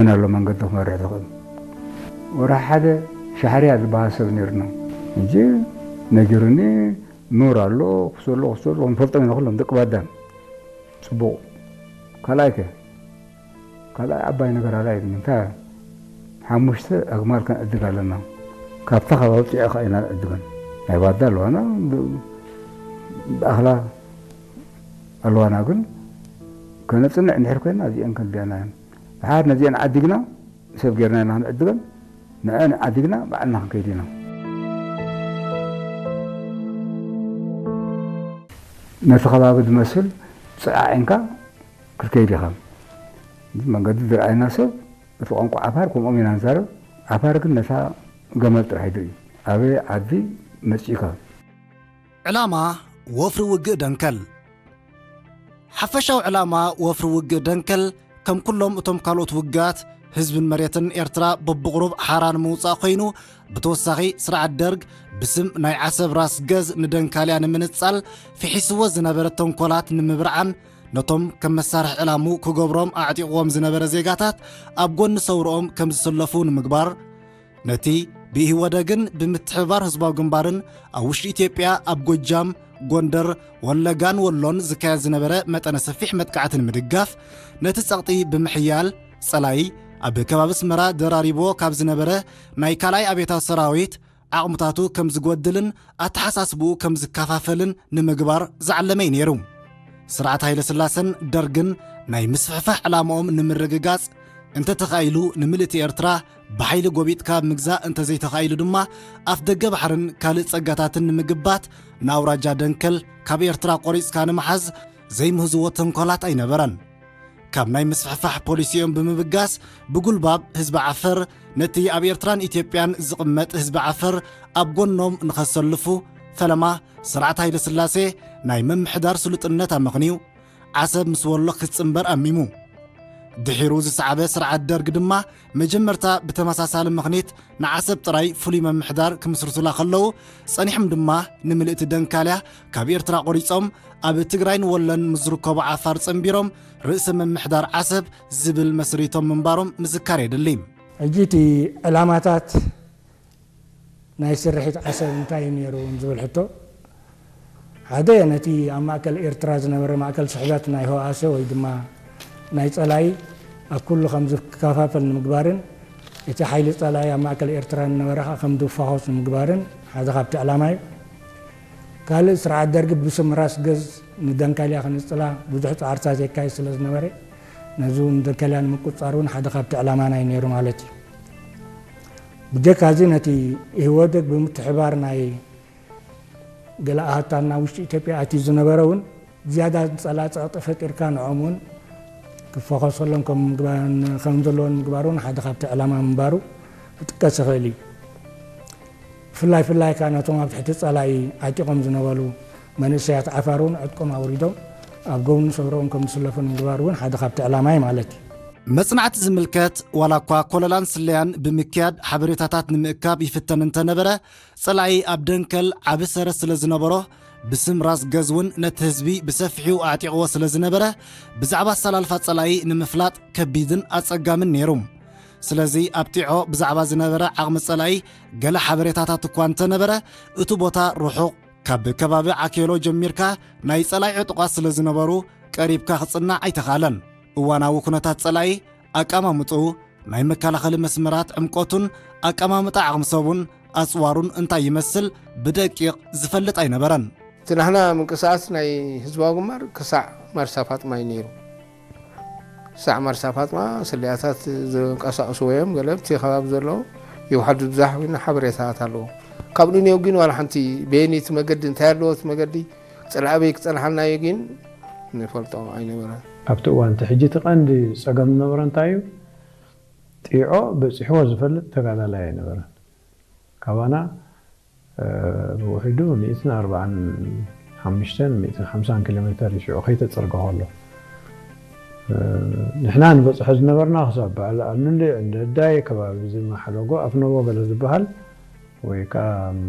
መን ኣሎ መንገዲ ክመርሕ ዝኽእል? ወርሒ ሓደ ሻሕርያ ዝበሃል ሰብ ነይሩና። ሕጂ ነጊሩኒ፣ ኑር ኣሎ፣ ክሰሎ፣ ክሰሎ፣ ክንፈልጦም ኢና ኩሎም ደቂ ባዳን። ጽቡቕ። ካልኣይ ከ? ካልኣይ ዓባይ ነገር ኣላ የብሉን። እንታይ? ሓሙሽተ ኣግማል ከነዕድግ ኣለና። ካብታ ከባቢ ጢዖ ከኣ ኢና ንዕድገን። ናይ ባዳ ኣለዋና፣ ብ-፣ ብኣኽላ ኣለዋና፣ ግን ከነጽንዕ እንድሕር ኮይና እዚአን ከድልያና እየን። ድሓር ነዚአን ዓዲግና፣ ሰብ ጌርና ኢና ክንዕድገን፣ ንዐን ዓዲግና ባዕልና ክንከይድ ኢና። ነቲ ከባቢ ዝመስል ጽዓዒንካ ክትከይድ ኢኻ። መንገዲ ዝረኣየና ሰብ፣ እቲ ቋንቋ ዓፋር ከምኦም ኢና ንዛረብ። ዓፋር ግን ነታ ገመል ጥራሕ እዩ። ኣበይ ዓዲ መጺእካ? ዕላማ ወፍሪ ውግእ ደንከል። ሓፈሻዊ ዕላማ ወፍሪ ውግእ ደንከል፣ ከም ኩሎም እቶም ካልኦት ውግኣት፣ ህዝብን መሬትን ኤርትራ በብቑሩብ ሓራ ንምውጻእ ኮይኑ፣ ብተወሳኺ ስርዓት ደርግ ብስም ናይ ዓሰብ ራስ ገዝ ንደንካልያ ንምንጻል ፍሒስዎ ዝነበረ ተንኮላት ንምብርዓን፣ ነቶም ከም መሳርሒ ዕላሙ ክገብሮም ኣዕጢቕዎም ዝነበረ ዜጋታት ኣብ ጎኒ ሰውርኦም ከም ዝስለፉ ንምግባር፣ ነቲ ብኢህወደግን ብምትሕብባር ህዝባዊ ግንባርን ኣብ ውሽጢ ኢትዮጵያ ኣብ ጎጃም፣ ጎንደር፣ ወለጋን ወሎን ዝካየድ ዝነበረ መጠነ ሰፊሕ መጥቃዕቲ ንምድጋፍ፣ ነቲ ጸቕጢ ብምሕያል፣ ጸላኢ ኣብ ከባቢ ኣስመራ ደራሪብዎ ካብ ዝነበረ ናይ ካልኣይ ኣብዮታዊ ሰራዊት ዓቕምታቱ ከም ዝጎድልን ኣተሓሳስብኡ ከም ዝከፋፈልን ንምግባር ዝዓለመ እዩ ነይሩ። ስርዓት ሃይለ ስላሰን ደርግን ናይ ምስፍሕፋሕ ዕላምኦም ንምርግጋጽ፣ እንተተኻኢሉ ንምልእቲ ኤርትራ ብሓይሊ ጎቢጥካ ምግዛእ፣ እንተዘይተኻኢሉ ድማ ኣፍ ደገ ባሕርን ካልእ ጸጋታትን ንምግባት፣ ንኣውራጃ ደንከል ካብ ኤርትራ ቆሪጽካ ንምሓዝ ዘይምህዝዎ ተንኮላት ኣይነበረን። ካብ ናይ ምስፍሕፋሕ ፖሊሲኦም ብምብጋስ፣ ብጉልባብ ህዝቢ ዓፈር፣ ነቲ ኣብ ኤርትራን ኢትዮጵያን ዝቕመጥ ህዝቢ ዓፈር ኣብ ጎኖም ንኸሰልፉ ፈለማ ስርዓት ሃይለ ስላሴ ናይ ምምሕዳር ስሉጥነት ኣመኽንዩ፣ ዓሰብ ምስ ወሎ ክትጽንበር ኣሚሙ። ድሒሩ ዝሰዓበ ስርዓት ደርግ ድማ መጀመርታ ብተመሳሳሊ ምኽኒት ንዓሰብ ጥራይ ፍሉይ ምምሕዳር ክምስርቱላ ከለዉ፣ ጸኒሖም ድማ ንምልእቲ ደንካልያ ካብ ኤርትራ ቆሪጾም ኣብ ትግራይን ወሎን ምስ ዝርከቡ ዓፋር ጸንቢሮም ርእሰ ምምሕዳር ዓሰብ ዝብል መስሪቶም ምንባሮም ምዝካር የድሊ። ሕጂ እቲ ዕላማታት ናይ ስርሒት ዓሰብ እንታይ እዩ ነይሩ ዝብል ሕቶ፣ ሓደ ነቲ ኣብ ማእከል ኤርትራ ዝነበረ ማእከል ስሕበት ናይ ህወኣሰ ወይ ድማ ናይ ጸላኢ ኣብ ኩሉ ከም ዝከፋፈል ንምግባርን እቲ ሓይሊ ጸላኢ ኣብ ማእከል ኤርትራ ዝነበረ ከኣ ከም ዝፈኾስ ንምግባርን ሓደ ካብቲ ዕላማ እዩ። ካልእ ስርዓት ደርጊ ብስም ራስ ገዝ ንደንካልያ ክንጽላ ብዙሕ ጻዕርታት የካይድ ስለ ዝነበረ ነዚ እውን ደንካልያ ንምቁጽጻር እውን ሓደ ካብቲ ዕላማና እዩ ነይሩ ማለት እዩ። ብጀካ እዚ ነቲ ኢህወደግ ብምትሕባር ናይ ገለ ኣሃታና ውሽጢ ኢትዮጵያ ኣትዩ ዝነበረ እውን ዝያዳ ዝጸላ ጸቕጢ ፈጢርካ ንዖም እውን ክፈኸሰሎም ከም ምግባ-፣ ከም ዘለዎን ምግባር እውን ሓደ ካብቲ ዕላማ ምንባሩ ክጥቀስ ይኽእል እዩ። ብፍላይ ፍላይ ከኣ ነቶም ኣብ ትሕቲ ጸላኢ ዓጢቖም ዝነበሩ መንእሰያት ዓፋር እውን ዕጥቆም ኣውሪዶም ኣብ ጎኒ ሰውርኦም ከም ዝስለፉ ንምግባር እውን ሓደ ካብቲ ዕላማ እዩ ማለት እዩ። መጽናዕቲ ዝምልከት ዋላ እኳ ኮለላን ስለያን ብምክያድ ሓበሬታታት ንምእካብ ይፍተን እንተነበረ፣ ጸላኢ ኣብ ደንከል ዓቢ ሰረት ስለ ዝነበሮ፣ ብስም ራስ ገዝ እውን ነቲ ህዝቢ ብሰፊሑ ኣዕጢቕዎ ስለ ዝነበረ፣ ብዛዕባ ኣሰላልፋ ጸላኢ ንምፍላጥ ከቢድን ኣጸጋምን ነይሩ። ስለዚ ኣብ ጢዖ ብዛዕባ ዝነበረ ዓቕሚ ጸላኢ ገለ ሓበሬታታት እኳ እንተነበረ፣ እቲ ቦታ ርሑቕ፣ ካብ ከባቢ ዓኬሎ ጀሚርካ ናይ ጸላኢ ዕጡቓት ስለ ዝነበሩ ቀሪብካ ክጽናዕ ኣይተኻእለን። እዋናዊ ኩነታት ጸላኢ፣ ኣቀማምጥኡ፣ ናይ መከላኸሊ መስመራት ዕምቆቱን ኣቀማምጣ ዓቕሚ ሰቡን ኣጽዋሩን እንታይ ይመስል ብደቂቕ ዝፈልጥ ኣይነበረን። እቲ ናህና ምንቅስቃስ ናይ ህዝባዊ ግንባር ክሳዕ ማርሳ ፋጥማ እዩ ነይሩ። ክሳዕ ማርሳ ፋጥማ ስለያታት ዝንቀሳቀስዎ እዮም። ገለ ኣብቲ ከባቢ ዘለዉ ይውሓዱ ብዛሕ ሓበሬታታት ኣለዎ። ካብ ንኔው ግን ዋላ ሓንቲ በየነይቲ መገዲ እንታይ ኣለዎ እቲ መገዲ፣ ጸላኢ ኣበይ ክጸንሓልና እዩ ግን ንፈልጦ ኣይነበረን። ኣብቲ እዋን እቲ ሕጂ እቲ ቀንዲ ጸገም ዝነበረ እንታይ እዩ? ጢዖ በጺሕዎ ዝፈልጥ ተጋዳላይ ኣይነበረን። ካባና፣ እ፣ ብውሕዱ ሚእትን ኣርባዓን ሓሙሽተን ሚእትን ሓምሳን ኪሎ ሜተር እዩ ሽዑ ከይተጸርገ ከሎ። እ፣ ንሕና ንበጽሖ ዝነበርና ክሳብ በዓል ኣሉሊ፣ ዕንደዳይ፣ ከባቢ እዚ ማሕለጎ፣ ኣፍነቦ ገለ ዝበሃል ወይ ከኣ፣ እም፣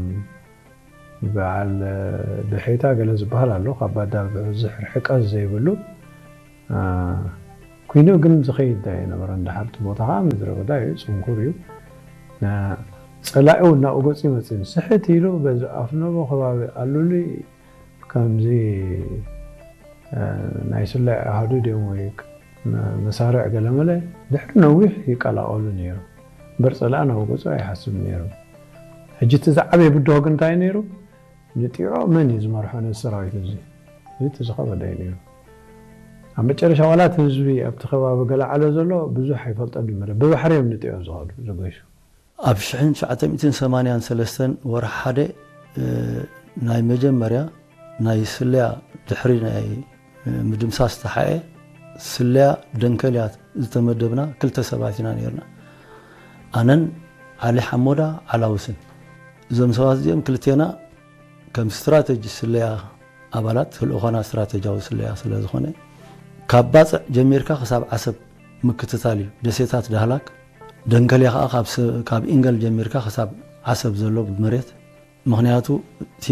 በዓል ደሒታ ገለ ዝበሃል ኣሎ፣ ካብ ባዳ ብዙሕ ርሕቀት ዘይብሉ፣ እ፣ ኩይኑ ግን ዝኸይድ ኣይነበረን። ድሓር እቲ ቦታ ከዓ ምድረ በዳ እዩ፣ ጽንኩር እዩ። ና-፣ ጸላኢ እውን ናብኡ ገጹ ይመጽእ። ስሕት ኢሉ በዚ ኣፍነቦ ከባቢ ኣሉሊ ከምዚ፣ እ፣ ናይ ስለያ ኣሃዱ ድዮም ወይ መ-፣ መሳርዕ ገለመለ ድሕሪ ነዊሕ ይቀላቐሉ ነይሩ። እምበር ጸላኢ ናብኡ ገጹ ኣይሓስብ ነይሩ። ሕጂ እቲ ዝዓበየ ብድሆ ግን እንታይ ነይሩ? ንጢዖ መን እዩ ዝመርሖ ነዚ ሰራዊት እዚ? እዚ እቲ ዝኸበደ እዩ ነይሩ። ኣብ መጨረሻ ዋላ እቲ ህዝቢ ኣብቲ ከባቢ ገለ ዓሎ ዘሎ ብዙሕ ኣይፈልጦን እዩ። መለ-፣ ብባሕሪ እዮም ንጢዖ ዝኸዱ፣ ዝገሹ። ኣብ ሽሕን ትሽዓተ ሚእትን ሰማንያን ሰለስተን ወርሒ ሓደ፣ እ፣ ናይ መጀመርያ ናይ ስለያ ድሕሪ ናይ፣ እ፣ ምድምሳስ ተሓኤ ስለያ ደንከልያ ዝተመደብና ክልተ ሰባት ኢና ነይርና። ኣነን ዓሊ ሓሞዳ ዓላውስን። እዞም ሰባት እዚኦም ክልቴና ከም ስትራተጂ ስለያ ኣባላት፣ ተልእኾና ስትራተጂያዊ ስለያ ስለ ዝኾነ፣ ካብ ባጽዕ ጀሚርካ ክሳብ ዓሰብ ምክትታል እዩ። ደሴታት ዳህላክ፣ ደንከልያ ኸኣ ካብ ስ-፣ ካብ ኢንገል ጀሚርካ ክሳብ ዓሰብ ዘሎ ብመሬት። ምኽንያቱ እቲ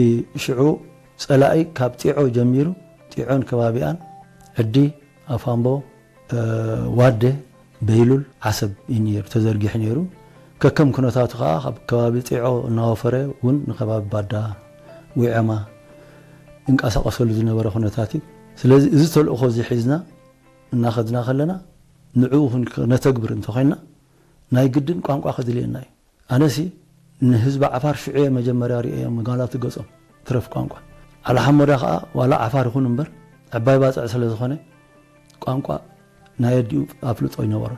ሽዑ ጸላኢ ካብ ጢዖ ጀሚሩ፣ ጢዖን ከባቢኣን፣ ዕዲ፣ ኣፋምቦ፣ እ፣ ዋደ፣ በይሉል፣ ዓሰብ እዩ ነይሩ፣ ተዘርጊሑ ነይሩ። ከከም ኩነታቱ ኸኣ ካብ ከባቢ ጢዖ እናወፈረ እውን ንከባቢ ባዳ፣ ዊዐማ ይንቀሳቐሰሉ ዝነበረ ኩነታት እዩ። ስለዚ እዚ ተልእኾ እዚ ሒዝና እናኸድና ከለና ንዕኡ ክን-፣ ክነተግብር እንተኾይንና ናይ ግድን ቋንቋ ከድልየና እዩ። ኣነሲ ንህዝቢ ዓፋር ሽዑ እየ መጀመርያ ርእየዮም፣ ጓላቱ ገጾም ትረፍ ቋንቋ። ዓሊ ሓሞዳ ኸኣ ዋላ ዓፋር ይኹን እምበር ዕባይ ባጽዕ ስለ ዝኾነ ቋንቋ ናይ ኣዲኡ ኣፍልጦ ይነበሮ።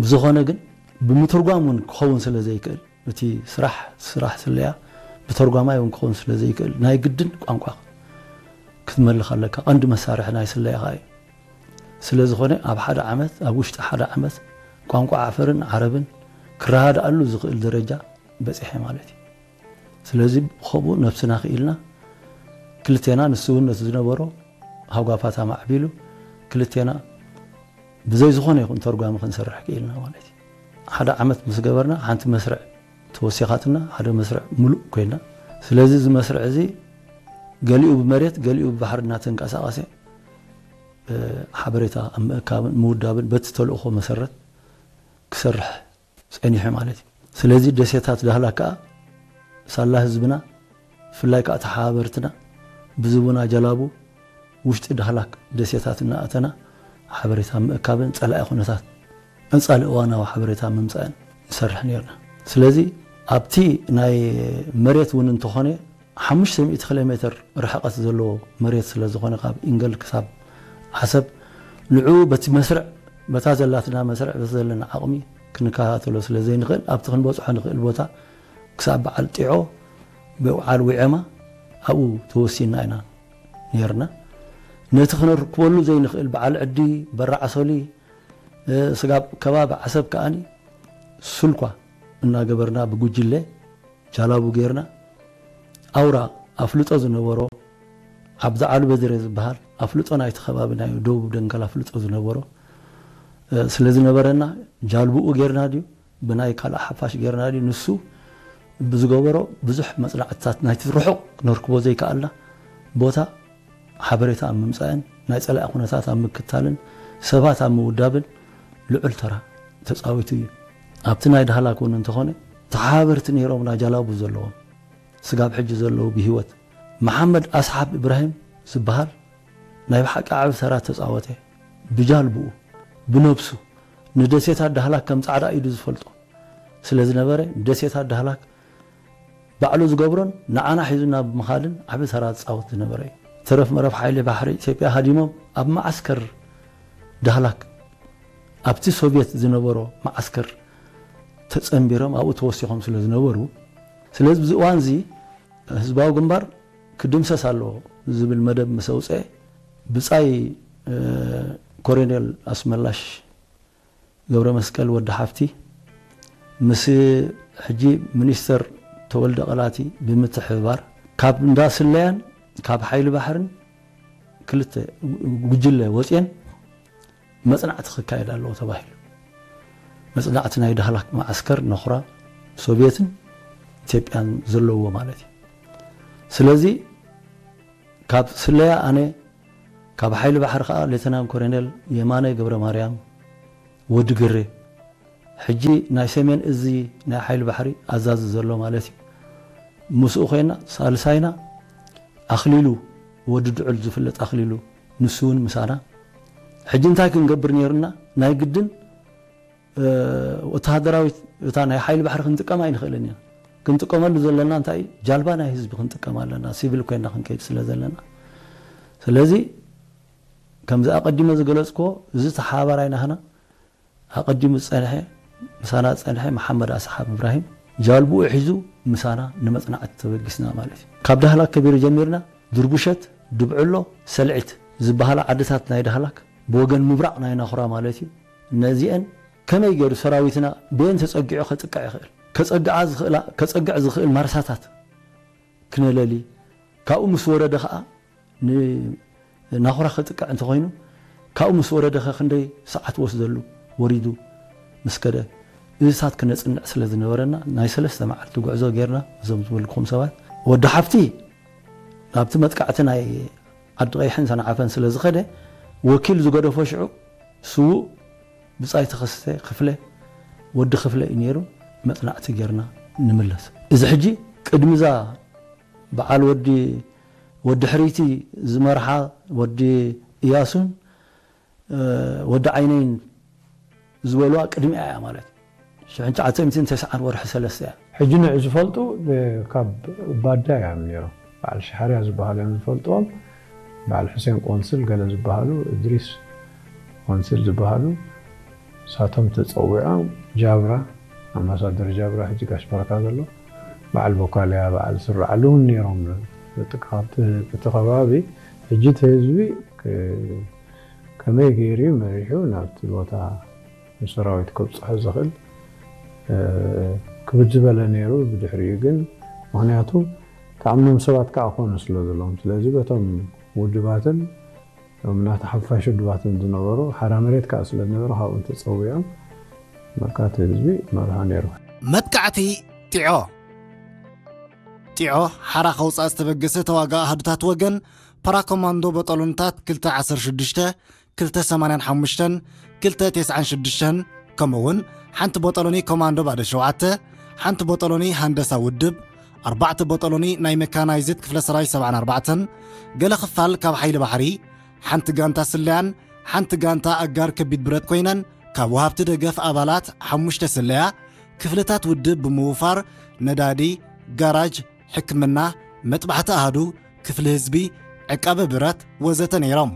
ብዝኾነ ግን ብምትርጓም እውን ክኸውን ስለ ዘይክእል፣ እቲ ስራሕ፣ ስራሕ ስለያ ብተርጓማይ እውን ክኸውን ስለ ዘይክእል ናይ ግድን ቋንቋ ክትመልኽ ኣለካ። ቀንዲ መሳርሒ ናይ ስለያ ኸኣ እዩ። ስለ ዝኾነ ኣብ ሓደ ዓመት፣ ኣብ ውሽጢ ሓደ ዓመት ቋንቋ ዓፈርን ዓረብን ክረዳድኣሉ ዝኽእል ደረጃ በጺሐ ማለት እዩ። ስለዚ ብኸምኡ ነብስና ክኢልና ክልቴና፣ ንሱ እውን ነቲ ዝነበሮ ሃጓፋት ኣማዕቢሉ ክልቴና ብዘይ ዝኾነ ይኹን ተርጓሚ ክንሰርሕ ክኢልና ማለት እዩ። ሓደ ዓመት ምስ ገበርና ሓንቲ መስርዕ ተወሲኻትና፣ ሓደ መስርዕ ምሉእ ኮይና። ስለዚ እዚ መስርዕ እዚ ገሊኡ ብመሬት ገሊኡ ብባሕሪ እናተንቀሳቐሰ፣ እ፣ ሓበሬታ ኣብ ምእካብን ምውዳብን በቲ ተልእኾ መሰረት ክሰርሕ ጸኒሑ ማለት እዩ። ስለዚ ደሴታት ዳህላክ ከኣ ሳላ ህዝብና፣ ብፍላይ ከኣ ተሓባበርትና ብዝቡና ጀላቡ ውሽጢ ዳህላክ ደሴታት እናኣተና ሓበሬታ ምእካብን ጸላኢ ኩነታት ቀጻሊ እዋናዊ ሓበሬታ ምምጻእን ንሰርሕ ነይርና። ስለዚ ኣብቲ ናይ መሬት እውን እንተኾነ ሓሙሽተ ሚእቲ ኪሎ ሜትር ርሕቀት ዘለዎ መሬት ስለ ዝኾነ ካብ ኢንገል ክሳብ ዓሰብ ንዕኡ በቲ መስርዕ፣ በታ ዘላትና መስርዕ፣ በቲ ዘለና ዓቕሚ ክንከታተሎ ስለ ዘይንኽእል ኣብቲ ክንበጽሖ ንኽእል ቦታ ክሳብ በዓል ጢዖ፣ በዓል ዊዐማ ኣብኡ ተወሲንና ኢና ነይርና። ነቲ ክነርክበሉ ዘይንኽእል በዓል ዕዲ፣ በራዕ ሶሊ፣ እ፣ ስጋብ ከባቢ ዓሰብ ከኣኒ ስልኳ እናገበርና ብጉጅለ ጃላቡ ጌርና ኣውራ ኣፍልጦ ዝነበሮ ዓብዲ ዓሊ በድረ ዝበሃል ኣፍልጦ ናይቲ ከባቢ ናይ ደቡብ ደንከል ኣፍልጦ ዝነበሮ፣ እ፣ ስለ ዝነበረና ጃልብኡ ጌርና ድዩ ብናይ ካልእ ሓፋሽ ጌርና ድዩ ንሱ ብዝገበሮ ብዙሕ መጽናዕትታት ናይቲ ርሑቕ ክነርክቦ ዘይከኣልና ቦታ ሓበሬታ ኣብ ምምጻእን ናይ ጸላኢ ኩነታት ኣብ ምክታልን ሰባት ኣብ ምውዳብን ልዑል ተራ ተጻዊቱ እዩ። ኣብቲ ናይ ዳህላክ እውን እንተኾነ ተሓባበርቲ ነይሮምና ጃላቡ ዘለዎም ስጋብ ሕጂ ዘለዉ ብህይወት። መሓመድ ኣስሓብ እብራሂም ዝበሃል ናይ ብሓቂ ዓቢ ተራ ተጻወተ። ብጃልብኡ፣ ብነብሱ፣ ንደሴታት ዳህላክ ከም ጻዕዳ ኢዱ ዝፈልጦ ስለ ዝነበረ፣ ንደሴታት ዳህላክ ባዕሉ ዝገብሮን ንዓና ሒዙና ብምኻድን ዓቢ ተራ ዝጻወት ዝነበረ እዩ። ተረፍ መረፍ ሓይሊ ባሕሪ ኢትዮጵያ ሃዲሞም ኣብ መዓስከር ዳህላክ፣ ኣብቲ ሶቭየት ዝነበሮ መዓስከር ተጸንቢሮም ኣብኡ ተወሲኾም ስለ ዝነበሩ፣ ስለዚ ብዚ እዋን እዚ ህዝባዊ ግንባር ክድምሰስ ኣለዎ ዝብል መደብ ምስ ኣውጽአ፣ ብጻይ፣ እ፣ ኮሎኔል ኣስመላሽ ገብረ መስቀል ወዲ ሓፍቲ ምስ ሕጂ ሚኒስተር ተወልደ ቀላቲ ብምትሕብባር ካብ እንዳ ስለያን ካብ ሓይሊ ባሕርን ክልተ ጉጅለ ወጽየን መጽናዕቲ ክካየድ ኣለዎ ተባሂሉ። መጽናዕቲ ናይ ዳህላክ መዓስከር ነኹራ ሶቭየትን ኢትዮጵያን ዘለዎ ማለት እዩ። ስለዚ ካብ ስለያ ኣነ፣ ካብ ሓይሊ ባሕሪ ከኣ ሌተናል ኮሎኔል የማነ ገብረ ማርያም፣ ወዲ ግሬ፣ ሕጂ ናይ ሰሜን እዚ ናይ ሓይሊ ባሕሪ ኣዛዚ ዘሎ ማለት እዩ። ምስኡ ኮይና ሳልሳይና ኣኽሊሉ ወዲ ድዑል ዝፍለጥ ኣኽሊሉ፣ ንሱ እውን ምሳና። ሕጂ እንታይ ክንገብር ነይሩና? ናይ ግድን ወተሃደራዊት እታ ናይ ሓይሊ ባሕሪ ክንጥቀማ ኣይንኽእልን ኢና። ክንጥቀመሉ ዘለና እንታይ እዩ? ጃልባ ናይ ህዝቢ ክንጥቀም ኣለና፣ ሲቪል ኮይና ክንከይድ ስለ ዘለና። ስለዚ ከምዚ ኣቐዲመ ዝገለጽክዎ፣ እዚ ተሓባባራይ ናህና ኣቐዲሙ ዝጸንሐ፣ ምሳና ዝጸንሐ መሓመድ ኣስሓብ እብራሂም ጃልብኡ ሒዙ ምሳና ንመጽናዕቲ ተበጊስና ማለት እዩ። ካብ ዳህላክ ከቢሩ ጀሚርና ድርቡሸት፣ ድብዕሎ፣ ሰልዒት ዝበሃላ ዓድታት ናይ ዳህላክ ብወገን ምብራቕ ናይ ናኹራ ማለት እዩ። እነዚአን ከመይ ገይሩ ሰራዊትና ብየን ተጸጊዑ ከጥቅዕ ይኽእል? ከጸግዓ ዝኽእላ፣ ከጸግዕ ዝኽእል ማርሳታት ክነለሊ፣ ካብኡ ምስ ወረደ ኸኣ ንናኹራ ክጥቅዕ እንተኾይኑ፣ ካብኡ ምስ ወረደ ኸ ክንደይ ሰዓት ወስደሉ? ወሪዱ ምስ ከደ፣ እዚታት ክነጽንዕ ስለ ዝነበረና፣ ናይ ሰለስተ መዓልቲ ጉዕዞ ጌርና፣ እዞም ዝበልኩም ሰባት። ወዲ ሓፍቲ ናብቲ መጥቃዕቲ ናይ ዓዲ ቀይሕን ሰንዓፈን ስለ ዝኸደ፣ ወኪል ዝገደፎ ሽዑ ስዉእ ብጻይ ተኸስተ ክፍለ፣ ወዲ ክፍለ እዩ ነይሩ። መጽናዕቲ ጌርና ንምለስ። እዚ ሕጂ ቅድሚዛ በዓል ወዲ፣ ወዲ ሕርይቲ ዝመርሓ ወዲ እያሱን፣ እ፣ ወዲ ዓይነይን ዝበልዋ ቅድሚኣ እያ ማለት እዩ። ሽሕን ትሽዓተ ሚእትን ተስዓን ወርሒ ሰለስተ እያ። ሕጂ ንዕ ዝፈልጡ፣ እ፣ ካብ ባዳ እዮም ነይሮም። በዓል ሸሓርያ ዝበሃሉ እዮም ዝፈልጥዎም። በዓል ሑሴን ቆንስል ገለ ዝበሃሉ፣ እድሪስ ቆንስል ዝበሃሉ፣ ንሳቶም ተጸዊዖም ጃብራ፣ ኣምባሳደር ጃብራ፣ ሕጂ ጋሽ በረካ ዘሎ፣ በዓል ቦካልያ፣ በዓል ስርዓሉ እውን ነይሮም። በቃ ካብቲ፣ እቲ ከባቢ ሕጂ እቲ ህዝቢ ክ-፣ ከመይ ገይሩ እዩ መሪሑ ናብቲ ቦታ ንሰራዊት ከብፅሖ ዝኽእል፣ እ፣ ክብድ ዝበለ ነይሩ። ብድሕሪኡ ግን፣ ምኽንያቱ ተኣምኖም ሰባት ከዓ ክኾኑ ስለ ዘለዎም፣ ስለዚ በቶም ውድባትን እቶም ናቲ ሓፋሽ ውድባትን ዝነበሩ ሓራ መሬት ከዓ ስለ ዝነበረ፣ ካብኦም ተፀዊዖም በቃ እቲ ህዝቢ መርሖ ነይሩ። መጥቃዕቲ ጢዖ። ጢዖ ሓራ ከውፃእ ዝተበገሰ ተዋጋኢ ኣሃዱታት ወገን ፓራኮማንዶ በጠሎንታት ክልተ ዓሰርተ ሽዱሽተ፣ ክልተ ሰማንያን ሓሙሽተን፣ ክልተ ተስዓን ሽዱሽተን፣ ከምኡ እውን ሓንቲ ቦጠሎኒ ኮማንዶ ባዶ ሸውዓተ፣ ሓንቲ ቦጠሎኒ ሃንደሳ ውድብ፣ ኣርባዕተ ቦጠሎኒ ናይ መካናይዝድ ክፍለ ሰራዊት ሰብዓን ኣርባዕተን፣ ገለ ክፋል ካብ ሓይሊ ባሕሪ፣ ሓንቲ ጋንታ ስለያን ሓንቲ ጋንታ ኣጋር ከቢድ ብረት ኮይነን፣ ካብ ወሃብቲ ደገፍ ኣባላት ሓሙሽተ ስለያ ክፍልታት ውድብ ብምውፋር ነዳዲ፣ ጋራጅ፣ ሕክምና፣ መጥባሕቲ ኣሃዱ፣ ክፍሊ ህዝቢ፣ ዕቃበ ብረት ወዘተ ነይሮም።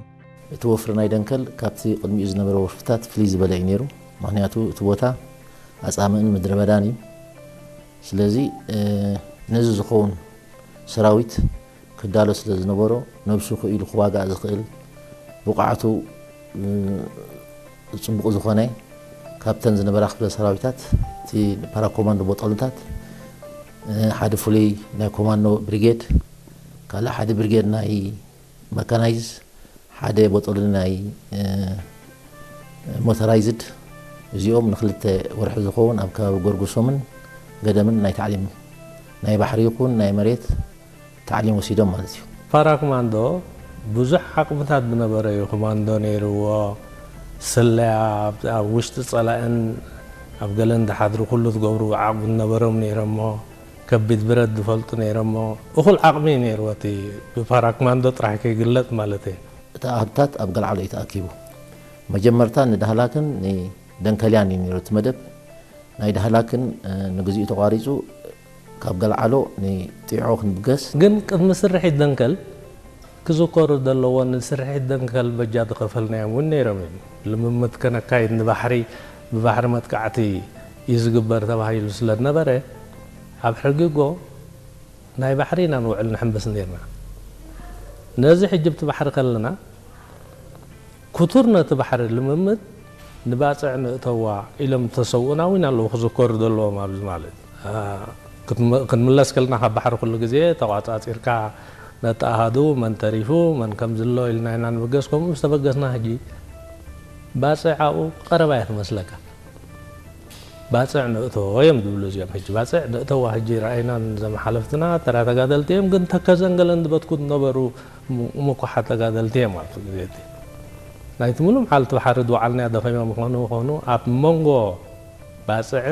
እቲ ወፍሪ ናይ ደንከል ካብቲ ቅድሚኡ ዝነበረ ወፍርታት ፍልይ ዝበለ እዩ ነይሩ። ምኽንያቱ እቲ ቦታ ኣጻምእን ምድረ በዳን እዩ። ስለዚ፣ እ፣ ነዚ ዝኸውን ሰራዊት ክዳሎ ስለ ዝነበሮ፣ ነብሱ ክኢሉ ክዋጋእ ዝኽእል፣ ብቕዓቱ፣ እ፣ ጽቡቕ ዝኾነ፣ ካብተን ዝነበራ ክፍለ ሰራዊታት፣ እቲ ፓራኮማንዶ ቦጠልታት፣ እ፣ ሓደ ፍሉይ ናይ ኮማንዶ ብሪጌድ፣ ካልእ ሓደ ብሪጌድ ናይ መካናይዝ፣ ሓደ ቦጠሊ ናይ፣ እ፣ ሞተራይዝድ፣ እዚኦም ንክልተ ወርሒ ዝኸውን ኣብ ከባቢ ጎርጉሶምን ገደምን ናይ ታዕሊም፣ ናይ ባሕሪ ይኹን ናይ መሬት ታዕሊም ወሲዶም ማለት እዩ። ፓራ ኮማንዶ ብዙሕ ዓቕምታት ዝነበረ እዩ። ኮማንዶ ነይርዎ፣ ስለያ፣ ኣብ፣ ኣብ ውሽጢ ጸላእን ኣብ ገለን ዝሓድሩ ኩሉ ዝገብሩ ዓቕሚ ዝነበሮም ነይሮሞ፣ ከቢድ ብረት ዝፈልጡ ነይሮሞ፣ እኹል ዓቕሚ እዩ ነይርዎ። እቲ ብፓራ ኮማንዶ ጥራሕ ከይግለጽ ማለት እዩ። እቲ ኣሃዱታት ኣብ ገልዓሎ እዩ ተኣኪቡ። መጀመርታ ንዳህላክን ንደንከልያን እዩ ነይሩ እቲ መደብ። ናይ ዳህላክን፣ እ፣ ንግዚኡ ተቋሪጹ፣ ካብ ገልዓሎ ንጢዖ ክንብገስ። ግን ቅድሚ ስርሒት ደንከል ክዝከሩ ዘለዎ፣ ንስርሒት ደንከል በጃ ዝኸፈልናዮም እውን ነይሮም እዮም። ልምምድ ከነካይድ ንባሕሪ፣ ብባሕሪ መጥቃዕቲ እዩ ዝግበር ተባሂሉ ስለ ዝነበረ፣ ኣብ ሕጊጎ ናይ ባሕሪ ኢና ንውዕል ንሕምብስ ነይርና። ነዚ ሕጂ ብቲ ባሕሪ ከለና፣ ክቱር ነቲ ባሕሪ ልምምድ ንባጽዕ ንእተዋ ኢሎም ዝተሰውኡና እውን ኣለዉ ክዝከሩ ዘለዎም ኣብዚ ማለት። አ፣ ክትም-፣ ክንምለስ ከለና ካብ ባሕሪ ኩሉ ግዜ ተቋጻጺርካ ነቲ ኣሃዱ መን ተሪፉ መን ከም ዝሎ ኢልና ኢና ንብገስ። ከምኡ ምስ ተበገስና ሕጂ ባጽዕ ኣብኡ ቀረባ እያ ትመስለካ። ባጽዕ ንእቶ እዮም ዝብሉ እዚኦም። ሕጂ ባጽዕ ንእተዋ ሕጂ ረኣይናን ዘመሓለፍትና ተራ ተጋደልቲ እዮም፣ ግን ተከዘን ገለን ዝበትኩ ዝነበሩ ም-፣ ምኩሓት ተጋደልቲ እዮም ኣብቲ ግዜ እቲ። ናይቲ ሙሉ መዓልቲ ብሓርድ ወዓልና ደኸመ ምኾኑ ኾኑ ኣብ መንጎ ባፅዕ